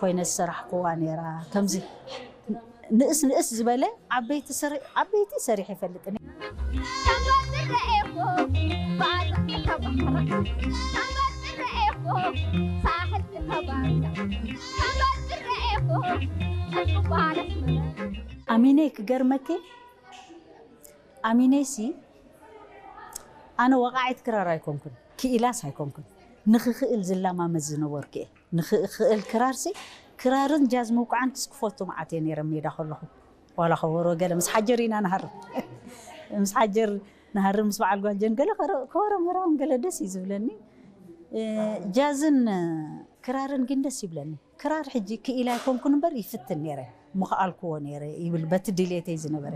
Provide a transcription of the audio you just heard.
ኮይነ ዝሰራሕኩዋ ነይራ። ከምዚ ንእስ ንእስ ዝበለ ዓበይቲ ሰሪ- ዓበይቲ ሰሪሕ ይፈልጥን። ኣሚነይ ክገርመኪ ኣሚነይሲ ኣነ ወቃዒት ክራር ኣይኮንኩን፣ ክኢላስ ኣይኮንኩን። ንኽኽእል ዝላማመድ ዝነበርኩ እየ። ንኽኽእል ክራርሲ ክራርን ጃዝ ምውቃዕን ክስክፈቱ መዓት እየ ነይረ ሜዳ ከለኹ። ዋላ ከበሮ ገለ ምስ ሓጀር ኢና ንሃርም ምስ ሓጀር ንሃርም ምስ በዓል ጓጀን ገለ ከረ- ከበሮ ምሃራውን ገለ ደስ እዩ ዝብለኒ። እ፣ ጃዝን እ፣ ክራርን ግን ደስ ይብለኒ። ክራር ሕጂ ክኢላ ኣይኮንኩን እምበር ይፍትን ነይረ፣ ምኽኣልክዎ ነይረ ይብል በቲ ድሌተይ ዝነበረ።